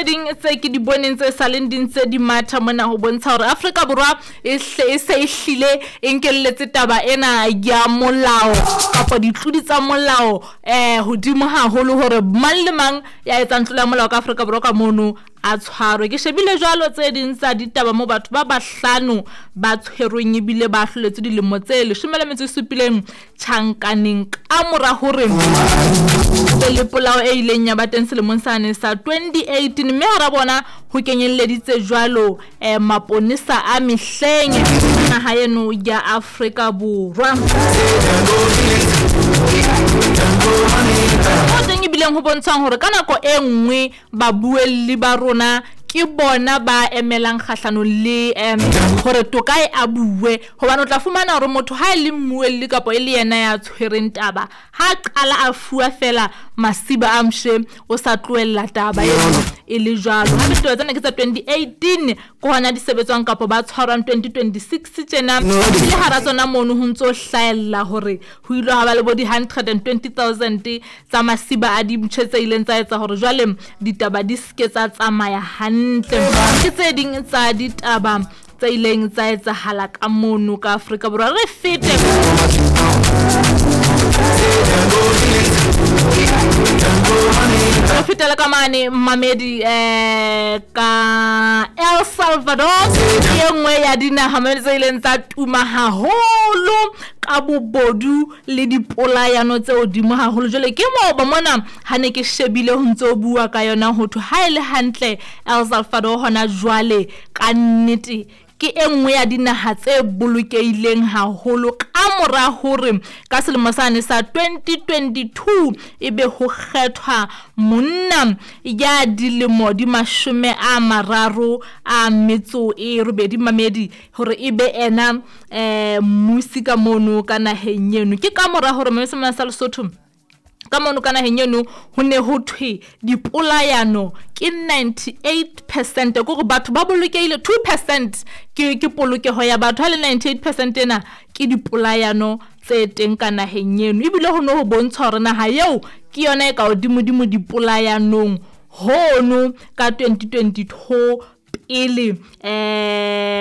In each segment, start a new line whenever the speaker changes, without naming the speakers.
ding tse ke di boneng tse sa leng di ntse di matha mona ho bontsha hore Afrika Borwa e hle e se e hlile e nkelletse taba ena ya molao kapa ditlodi tsa molao um hodimo haholo hore mang le mang ya etsang tlolo ya molao ka Afrika Borwa ka mono a tshwarwe. Ke shebile jwalo tse ding tsa ditaba mo batho ba bahlano ba tshwerweng ebile ba ahloletswe dilemo tse 17 tjhankaneng ka mora hore be le polao e ileng ya ba teng selemong sane sa 2018, mme hara bona ho kenyelleditse jwalo maponesa a mehleng naha eno ya Afrika Borwa. Ho teng ebileng ho bontshang hore ka nako e nngwe babuelli ba rona ke bona ba emelang kgahlanong le hore toka e abuwe, hobane o tla fumana hore motho ha e le mmuelli kapa e le yena ya tshwereng taba, ha qala a fuwa fela masiba a mshe, o sa tlohella taba eno e le jwalo. Hape ditaba tsena ke tsa 2018 ke hona di sebetswang kapa ba tshwarwang 2026 tjena, le hara tsona mono ho ntso hlahella hore ho ile ha ba le bo di 120,000 tsa masiba a dimpshe tse ileng tsa etsa hore jwale ditaba di seke tsa tsamaya hantle. Ke tse ding tsa ditaba tse ileng tsa etsahala ka mono ka Afrika Borwa. Re fete re fetele ka mane mamedi ka El Salvador, ke e nngwe ya dinaha mamedi tse ileng tsa tuma haholo ka bobodu le dipolayano tse hodimo haholo. Jwale ke moo mona ha ne ke shebile ho ntso bua ka yona ho thwe ha e le hantle El Salvador hona jwale ka nnete ke e nngwe ya dinaha tse bolokehileng haholo ka mora hore ka selemo sane sa 2022 ebe ho kgethwa monna ya dilemo di 38 mamedi hore ebe ena mmusi ka mono ka naheng eno. Ke ka mora hore mamedi sa Lesotho ka mono ka naheng eno ho ne ho thwe dipolayano ke 98%, ke hore batho ba bolokehile 2% ke polokeho ya batho, ha le 98% ena ke dipolayano tse teng ka naheng eno. Ebile ho ne ho bontsha hore naha eo ke yona e ka hodimodimo dipolayanong hono ka 2022 pele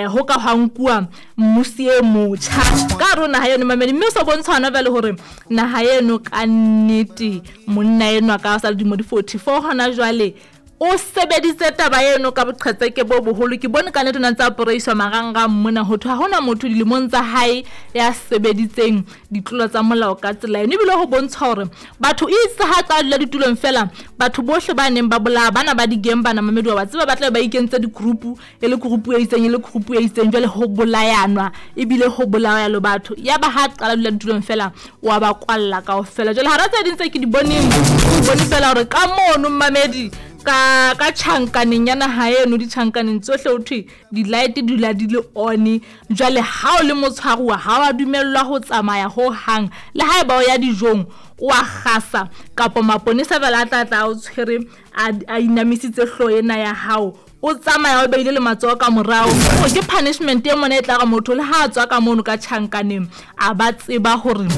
ho ka hwa nkuwa mmusi e motjha ka hare ho naha eno mamedi. Mme o so bontsha hona jwale hore naha eno ka nnete monna enwa ka sa le dilemo di 44 hona jwale o sebeditse taba eno ka boqhetseke bo boholo. Ke bone ka nnete o ntse a poreiswa marangrang mona ho thwe ha hona motho dilemong tsa hae ya sebeditseng ditlolo tsa molao ka tsela eno. Ebile ho bontsha hore batho itse ha tsa dula ditulong fela, batho bohle ba neng ba bolaya bana ba di-gang bana mamedi wa tseba ba tla ba ikentse di-group, e le group e itseng e le group e itseng, jwale ho bolayanwa ebile ho bolaya le batho. Ya ba ha qala dula ditulong fela wa ba kwalla kaofela. Jwale hara tse ding tse ke di boneng, ke bone fela hore ka mono mamedi ka tjhankaneng ya naha eno, ditjhankaneng tsohle ho thwe di-light di dula di le on. Jwale ha o le motshwaruwa ha wa dumellwa ho tsamaya ho hang, le haeba o ya dijong o a kgasa kapa maponesa fela a tla tla o tshwere a inamisitse hlooho ena ya hao, o tsamaya o beile le matsoho ka morao. Ke punishment e mona e tla re motho le ha a tswa ka mono ka tjhankaneng a ba tseba hore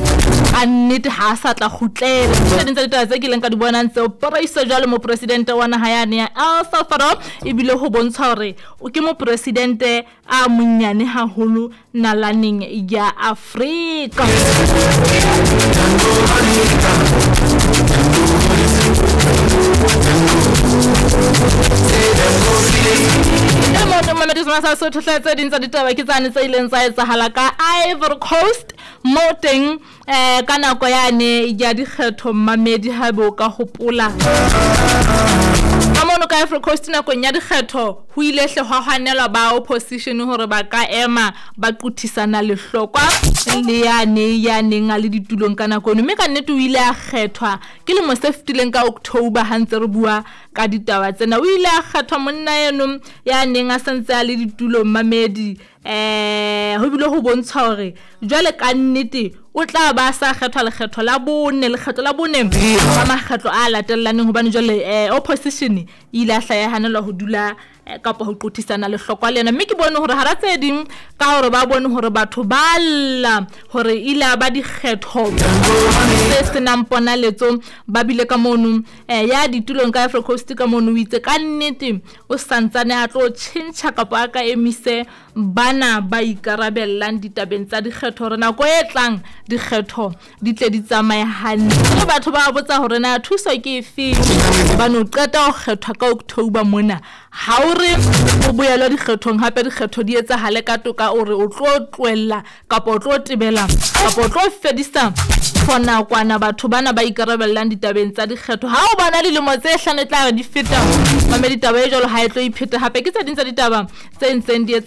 ka nnete ha a sa tla kgutlela. Tse ding tsa ditaba tse kileng ka di bonang tseo poreiso jwale mopresidente wa naha yane ya El Salvador, ebile ho bontsha hore ke mopresidente a monyane haholo nalaneng ya Afrika. Sotho hle tse ding tsa ditaba ke tsane tse ileng tsa etsahala ka Ivory Coast mo teng ka nako yane ya dikgetho mamedi ha bo ka hopola ka mono ka Ivory Coast nakong ya dikgetho ho ile hle hwa hanelwa ba opposition hore ba ka ema ba quthisana lehlokwa le yane ya neng a le ditulong ka nako eno, mme ka nnete o ile a kgethwa ke lemo se fetileng ka October ha ntse re bua ka ditaba tsena. O ile a kgethwa monna eno ya neng a santse a le ditulong mamedi, ho bile ho bontsha hore jwale ka nnete o tla ba sa kgethwa lekgetho la bone, lekgetho la bone ka makgetlo a latellaneng, hobane jwale opposition e ile a hlayahanelwa ho dula Kapa ho qothisana lehlokwa le yena. Mme ke bone hore hara tse ding, ka hore ba bone hore batho ba lla hore ile a ba dikgetho tse senang ponaletso, ba bile ka mono ya ditulong ka Ivory Coast ka mono, o itse ka nnete o santsane a tlo tjhentjha kapa a ka emise bana ba ikarabellang ditabeng tsa dikgetho hore nako e tlang dikgetho di tle di tsamaye hantle. Mme batho ba botsa hore na thuso ke efeng hobane o qeta ho kgethwa ka October mona, ha o re o boelwa dikgethong hape dikgetho di etsahale ka toka, o re o tlo tlohella kapa o tlo tebela kapa o tlo fedisa for nakwana batho bana ba ikarabellang ditabeng tsa dikgetho. Ha o bona dilemo tse hlano e tla re di feta, mamedi, taba e jwalo ha e tlo ipheta hape. Ke tse ding tsa ditaba tse ntseng di etsa.